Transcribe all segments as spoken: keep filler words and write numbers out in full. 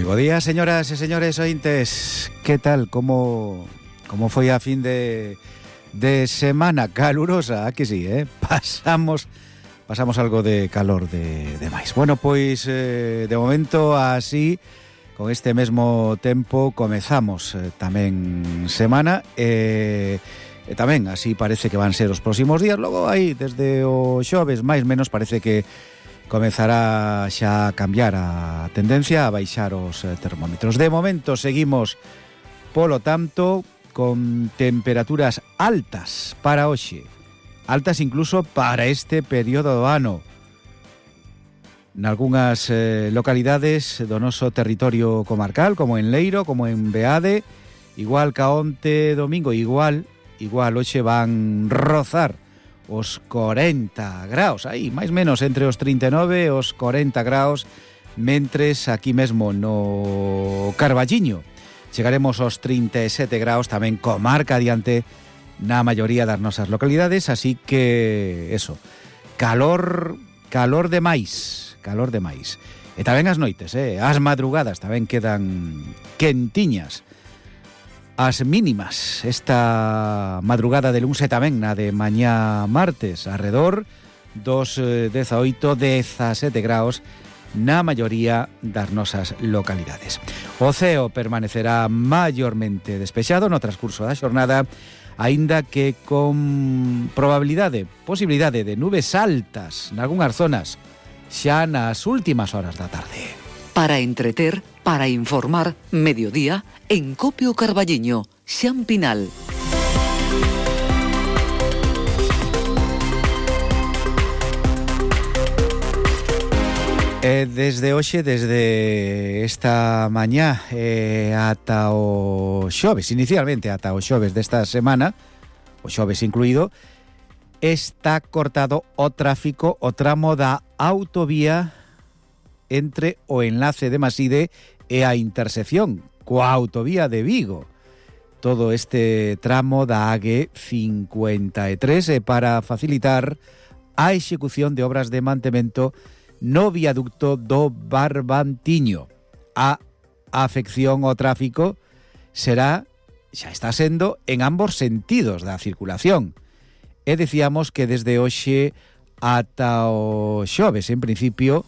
Bo día, señoras e señores ointes. Que tal? Como como foi a fin de de semana calurosa? A que sí, eh? Pasamos pasamos algo de calor de de máis. Bueno, pois eh, de momento así, con este mesmo tempo comezamos eh, tamén semana e eh, tamén así parece que van ser os próximos días. Logo aí desde o xoves máis menos parece que comezará xa a cambiar a tendencia a baixar os termómetros. De momento seguimos, polo tanto, con temperaturas altas para hoxe, altas incluso para este período do ano. Nalgúnas eh, localidades do noso territorio comarcal, como en Leiro, como en Beade, igual ca onte domingo, igual, igual hoxe van rozar os corenta graus, aí, máis menos entre os trinta e nove e os corenta graus, mentres aquí mesmo no Carballiño chegaremos aos trinta e sete graus, tamén comarca adiante na maioría das nosas localidades, así que, eso, calor, calor de máis, calor de máis. E tamén as noites, eh, as madrugadas tamén quedan quentiñas. As mínimas esta madrugada de luns e tamén na de mañá martes, arredor dos dezaoito, dezasete graus na maioría das nosas localidades. O ceo permanecerá maiormente despexado no transcurso da xornada, aínda que con probabilidade, posibilidade de nubes altas nalgúnas zonas xa nas últimas horas da tarde. Para entreter, para informar, mediodía, en Copio Carballiño, Xan Pinal. E desde hoxe, desde esta mañá eh, ata o xoves, inicialmente ata o xoves desta semana, o xoves incluído, está cortado o tráfico, o tramo da autovía entre o enlace de Maside e a intersección coa autovía de Vigo. Todo este tramo da A G cincuenta e tres é para facilitar a execución de obras de mantemento no viaducto do Barbantiño. A afección ao tráfico será, xa está sendo, en ambos sentidos da circulación. E decíamos que desde hoxe ata o xoves, en principio,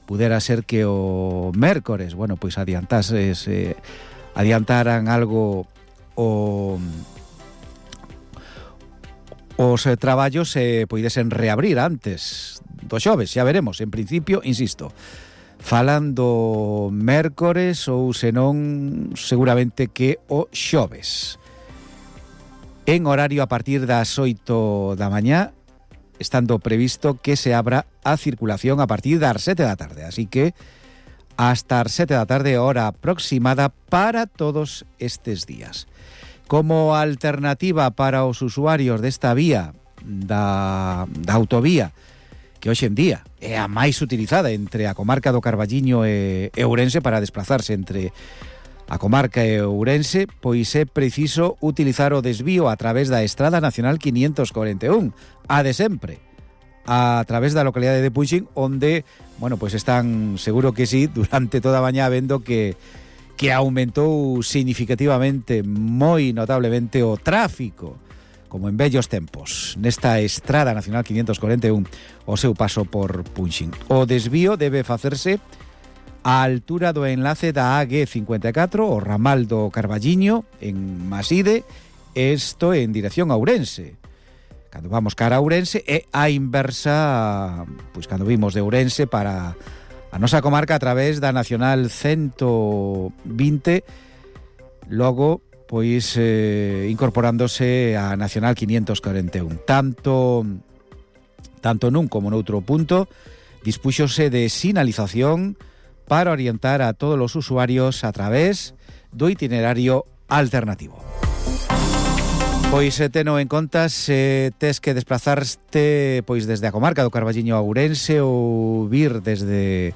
pudera ser que o mércores, bueno, pois adiantase, eh, adiantaran algo o os eh, traballos se eh, poidesen reabrir antes do xoves, xa veremos. En principio, insisto, falando mércores ou senón seguramente que o xoves. En horario a partir das oito da mañá, estando previsto que se abra a circulación a partir das sete da tarde. Así que hasta as sete da tarde, hora aproximada para todos estes días. Como alternativa para os usuarios desta vía, da, da autovía, que hoxe en día é a máis utilizada entre a comarca do Carballiño e, e Ourense para desplazarse entre a comarca e Ourense, pois é preciso utilizar o desvío a través da Estrada Nacional quinientos cuarenta e un, a de sempre, a través da localidade de Puxín, onde, bueno, pois están, seguro que sí, durante toda a mañá vendo que que aumentou significativamente, moi notablemente, o tráfico, como en vellos tempos, nesta Estrada Nacional quinientos cuarenta e un, o seu paso por Puxín. O desvío debe facerse a altura do enlace da A G cincuenta e catro, o ramal do Carballiño, en Maside, isto en dirección a Ourense. Cando vamos cara a Ourense, e a inversa, pois cando vimos de Ourense para a nosa comarca a través da Nacional ciento vinte, logo, pois, eh, incorporándose a Nacional quinientos cuarenta e un. Tanto, tanto nun como noutro punto, dispúxose de sinalización para orientar a todos os usuarios a través do itinerario alternativo. Pois teno en conta se tes que desplazarte pois desde a comarca do Carballiño a Ourense ou vir desde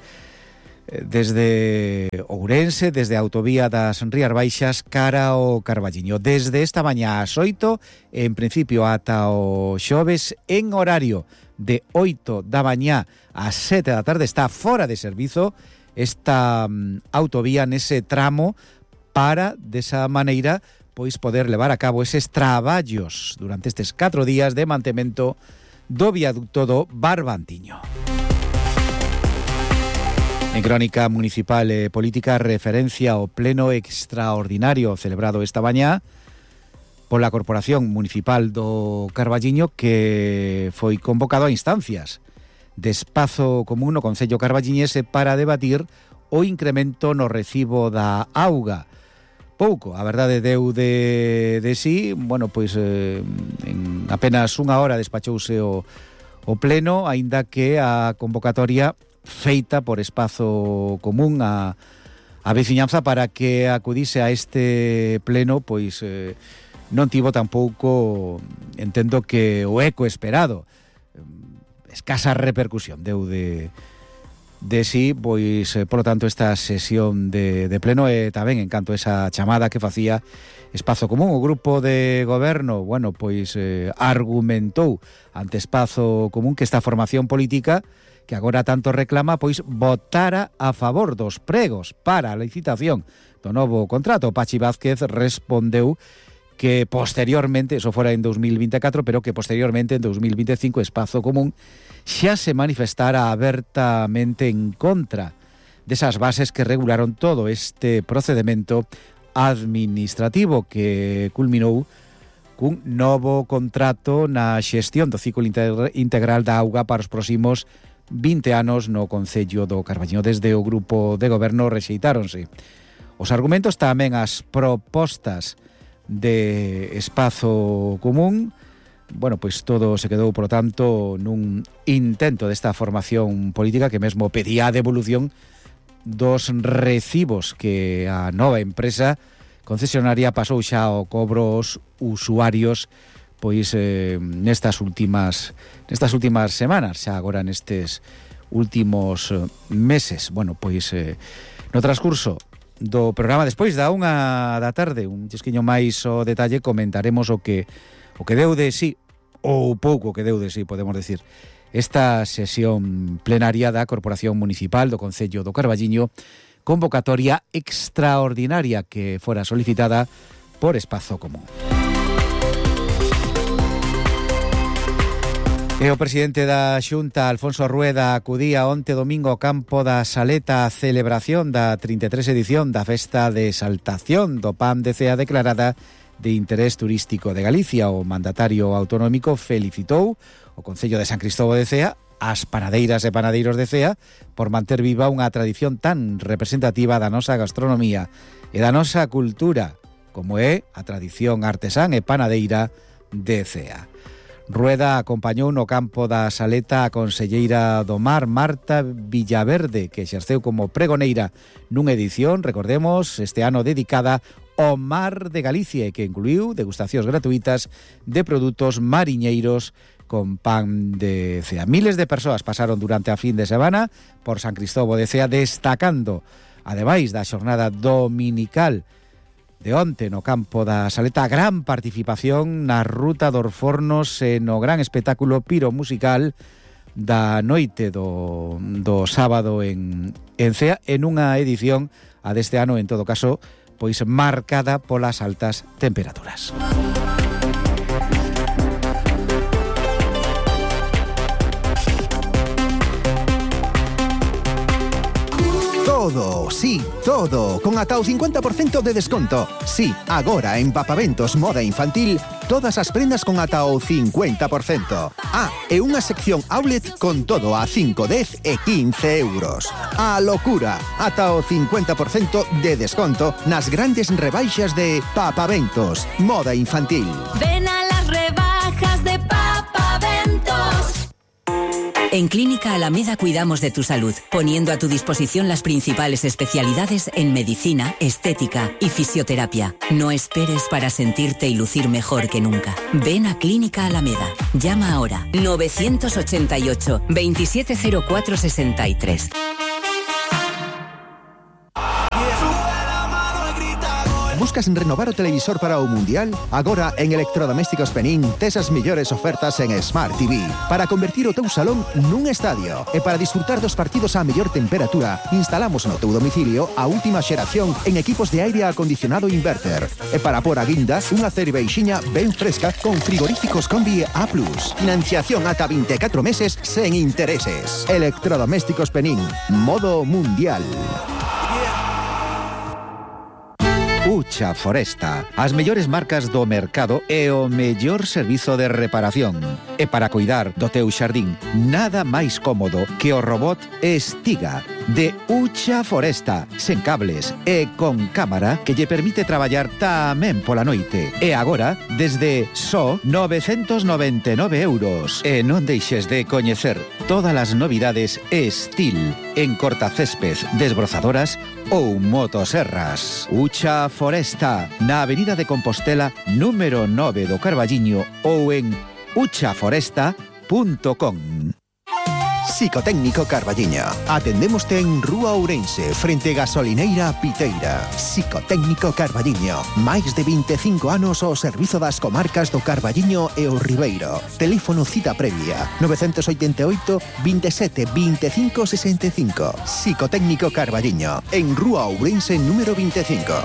desde Ourense, desde a autovía das Rías Baixas cara ao Carballiño. Desde esta mañá ás oito, en principio ata o xoves, en horario de oito da mañá ás sete da tarde, está fora de servizo esta um, autovía nese tramo para, desa maneira, pois poder levar a cabo eses traballos durante estes catro días de mantemento do viaducto do Barbantiño. En crónica municipal e política, referencia ao pleno extraordinario celebrado esta mañá pola Corporación Municipal do Carballiño, que foi convocado a instancias de espazo común no Concello carballiñese para debatir o incremento no recibo da auga. Pouco, a verdade deu de, de sí, bueno, pois eh, en apenas unha hora despachouse o, o pleno, aínda que a convocatoria feita por espazo común a, a veciñanza para que acudise a este pleno, pois eh, non tivo tampouco, entendo que o eco esperado, escasa repercusión deu de... de sí, pois, eh, polo tanto, esta sesión de, de pleno e tamén en canto a esa chamada que facía Espazo Común. O grupo de goberno, bueno, pois eh, argumentou ante Espazo Común que esta formación política que agora tanto reclama, pois votara a favor dos pregos para a licitación do novo contrato. Pachi Vázquez respondeu que posteriormente, eso fora en dos mil vinte e catro, pero que posteriormente en dos mil vinte e cinco Espazo Común xa se manifestara abertamente en contra desas bases que regularon todo este procedimento administrativo que culminou cun novo contrato na xestión do ciclo integral da auga para os próximos vinte anos no Concello do Carballiño. Desde o grupo de goberno rexeitáronse os argumentos, tamén as propostas de Espazo Común. Bueno, pois todo se quedou, por lo tanto, nun intento desta formación política que mesmo pedía a devolución dos recibos que a nova empresa concesionaria pasou xa ao cobro aos usuarios pois eh, nestas últimas nestas últimas semanas, xa agora nestes últimos meses. Bueno, pois eh, no transcurso do programa, despois da unha da tarde, un chisquiño máis o detalle, comentaremos o que o que deu de sí, ou pouco que deu de sí, podemos decir, esta sesión plenaria da Corporación Municipal do Concello do Carballiño, convocatoria extraordinaria que fora solicitada por Espazo Común. E o presidente da Xunta, Alfonso Rueda, acudía onte domingo ao campo da Saleta a celebración da trinta e tres edición da Festa de Exaltación do Pan de Cea declarada de interés turístico de Galicia. O mandatario autonómico felicitou o Concello de San Cristóbal de Cea, as panadeiras e panadeiros de Cea, por manter viva unha tradición tan representativa da nosa gastronomía e da nosa cultura, como é a tradición artesán e panadeira de Cea. Rueda acompañou no campo da Saleta a conselleira do Mar, Marta Villaverde, que exerceu como pregoneira nunha edición, recordemos, este ano dedicada ao Mar de Galicia e que incluiu degustacións gratuitas de produtos mariñeiros con pan de Cea. Miles de persoas pasaron durante a fin de semana por San Cristóbal de Cea, destacando, ademais da xornada dominical de onte no campo da Saleta, a gran participación na Ruta dos Fornos e no gran espectáculo piromusical da noite do, do sábado en, en Cea, en unha edición a deste ano, en todo caso, pois marcada polas altas temperaturas. Todo, sí, todo, con ata o cincuenta por cento de desconto. Sí, agora en Papaventos Moda Infantil, todas as prendas con ata o cincuenta por cento. Ah, e unha sección outlet con todo a cinco, dez e quince euros. A locura, ata o cincuenta por cento de desconto nas grandes rebaixas de Papaventos Moda Infantil. Ven a las rebajas de Papaventos. En Clínica Alameda cuidamos de tu salud, poniendo a tu disposición las principales especialidades en medicina, estética y fisioterapia. No esperes para sentirte y lucir mejor que nunca. Ven a Clínica Alameda. Llama ahora novecientos ochenta y ocho, veintisiete cero cuatro sesenta y tres. Buscas renovar o televisor para o Mundial? Agora en Electrodomésticos Penín tes as mellores ofertas en Smart T V para convertir o teu salón nun estadio. E para disfrutar dos partidos á mellor temperatura, instalamos no teu domicilio a última xeración en equipos de aire acondicionado inverter. E para por a guinda, unha cerveixiña ben fresca con frigoríficos Combi A plus. Financiación ata vinte e catro meses sen intereses. Electrodomésticos Penín. Modo Mundial. Ucha Foresta, as mellores marcas do mercado e o mellor servizo de reparación. E para cuidar do teu xardín, nada máis cómodo que o robot Estiga de Ucha Foresta, sen cables e con cámara que lle permite traballar tamén pola noite. E agora, desde só novecentos noventa e nove euros. E non deixes de coñecer todas as novidades Estil en cortacésped, desbrozadoras ou motoserras. Ucha Foresta, na Avenida de Compostela, número nove do Carballiño ou en ucha foresta punto com. Psicotécnico Carballiño. Atendémoste en Rúa Ourense, frente Gasolineira Piteira. Psicotécnico Carballiño. Máis de vinte e cinco anos ao servizo das comarcas do Carballiño e o Ribeiro. Teléfono cita previa nove oito oito, veintisiete, veinticinco sesenta y cinco. Psicotécnico Carballiño, en Rúa Ourense número veinticinco.